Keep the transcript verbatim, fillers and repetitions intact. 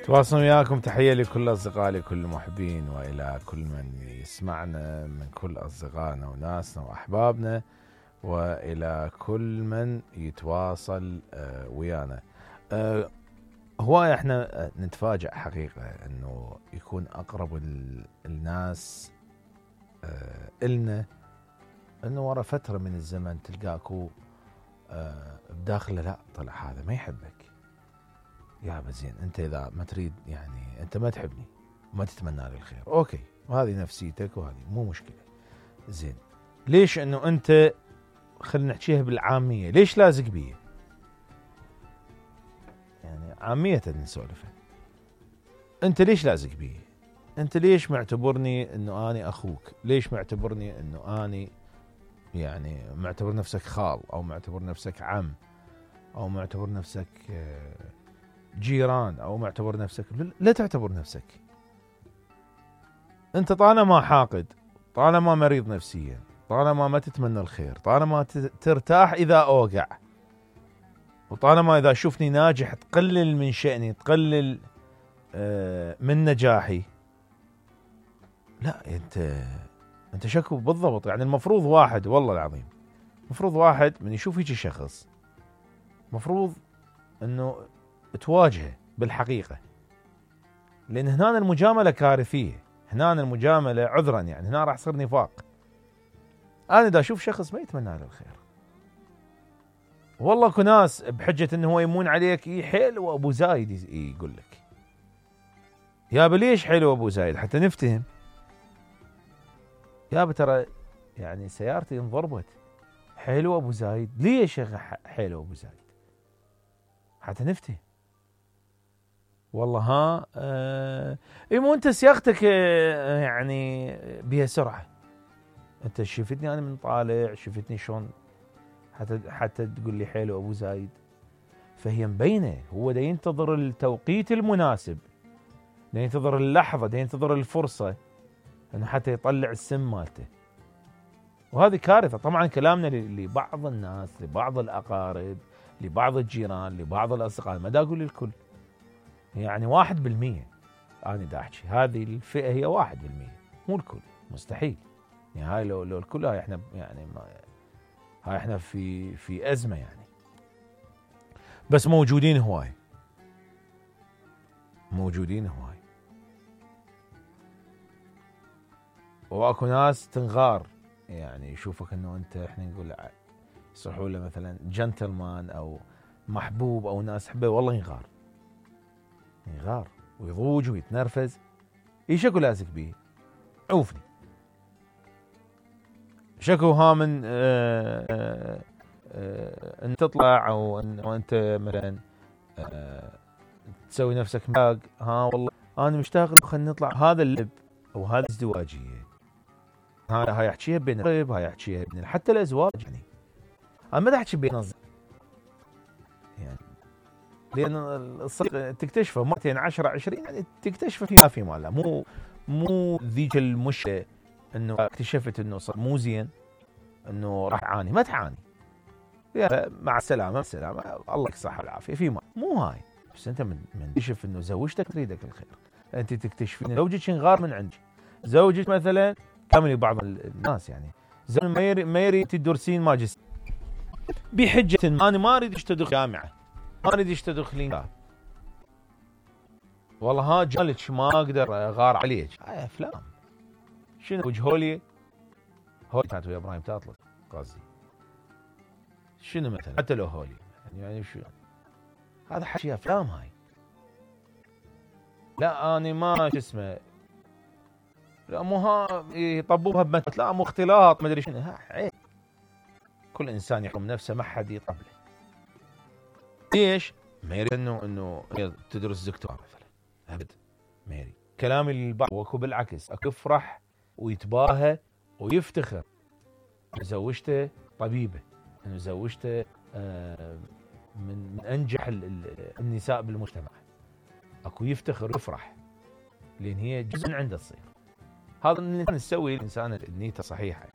تواصل وياكم، تحية لكل أصدقائي لكل المحبين وإلى كل من يسمعنا من كل أصدقائنا وناسنا وأحبابنا، وإلى كل من يتواصل ويانا. هواية احنا نتفاجأ حقيقة انه يكون أقرب الناس إلنا انه ورا فترة من الزمن تلقاكو بداخله لا طلع هذا ما يحبك. يا زين انت اذا ما تريد يعني انت ما تحبني وما تتمنى لي الخير، اوكي، وهذه نفسيتك وهذه مو مشكله. زين ليش انه انت، خلينا نحكيها بالعاميه، ليش لازق بي؟ يعني عاميه نسولفها، انت ليش لازق بي؟ انت ليش معتبرني انه اني اخوك؟ ليش معتبرني انه اني يعني معتبر نفسك خال، او معتبر نفسك عم، او معتبر نفسك جيران، او معتبر نفسك؟ لا تعتبر نفسك انت طالما حاقد، طالما مريض نفسيا، طالما ما تتمنى الخير، طالما ترتاح اذا اوقع، وطالما اذا شوفني ناجح تقلل من شأني، تقلل من نجاحي، لا انت انت شكو بالضبط. يعني المفروض واحد، والله العظيم المفروض واحد من يشوف هيك شخص مفروض انه تواجهه بالحقيقة، لأن هنا المجاملة كارثية، هنا المجاملة عذرا يعني هنا راح يصير نفاق. أنا إذا أشوف شخص ما يتمنى له الخير، والله اكو ناس بحجة إنه هو يمون عليك إيه حلو أبو زايد يقول لك يا ليش حلو أبو زايد حتى نفتهم. يا ترى يعني سيارتي انضربت، حلو أبو زايد ليش يا حلو أبو زايد حتى نفتهم. والله ها آه مو انت سياقتك آه يعني بها سرعه، انت شفتني انا من طالع، شفتني شلون حتى حتى تقول لي حلو ابو زايد. فهي مبينه، هو دا ينتظر التوقيت المناسب، دا ينتظر اللحظه، دا ينتظر الفرصه انه حتى يطلع السم مالته. وهذه كارثه. طبعا كلامنا لبعض الناس، لبعض الاقارب، لبعض الجيران، لبعض الاصدقاء، ما دا اقول الكل، يعني واحد بالمية. أنا دا أحكي هذه الفئة هي واحد بالمية، مو الكل، مستحيل. يعني هاي لو لو الكل، هاي إحنا يعني ما هاي إحنا في في أزمة يعني. بس موجودين هواي، موجودين هواي. وأكو ناس تنغار، يعني يشوفك إنه أنت، إحنا نقول يصحوا له مثلا جنتلمان أو محبوب أو ناس حبه، والله ينغار يغار ويضوج ويتنرفز. ايش اكو لازق بيه؟ عوفني شكو ها من آآ آآ آآ ان تطلع او ان انت مثلا تسوي نفسك ماق، ها والله انا مشتاق خلينا نطلع. هذا اللب او هذه الازدواجيه، هاي هاي احكيها بين الرب، هاي احكيها بين حتى الازواج. يعني انا ما احكي بين يعني، لأن الصديق تكتشفه مرتين عشرة عشرين، يعني تكتشفه فيما في ماله، مو مو ذيك المشكلة إنه اكتشفت إنه صار مو زين، إنه راح تعاني. ما تعاني، مع السلامة، مع السلامة، الله يك الصحة والعافية في ما، مو هاي. بس أنت من من تكتشف إنه زوجتك تريدك الخير، أنت تكتشف إن زوجك ينغار من عندك، زوجك مثلا كامل. بعض الناس يعني زوج ما يريد ما يريد تدرسين ماجستير بحجة أنا ما أريد أشتغل جامعة، ما اريد تدخلين. والله ها جالك ما اقدر اغار عليك. هاي افلام. شنو وجهولي هولي كانت ويا ابراهيم تاطلق قصدي. شنو مثلا حتى لو هولي يعني شو هذا حكي افلام هاي. لا اني ما شو اسمه، لا مو ها يطبوها بمثل، لا مو اختلاط ما ادري شنو. ها عيب، كل انسان يحكم نفسه، ما حد يطبله. ليش؟ ما يريد انه انه تدرس دكتوراه مثلا، ابد ما يريد. كلامي للبعض واكو بالعكس، اكو يفرح ويتباهى ويفتخر انه زوجته طبيبه، انه زوجته من من انجح النساء بالمجتمع. اكو يفتخر ويفرح لان هي جزء من عنده تصير. هذا اللي نسوي الانسان نيته صحيحه.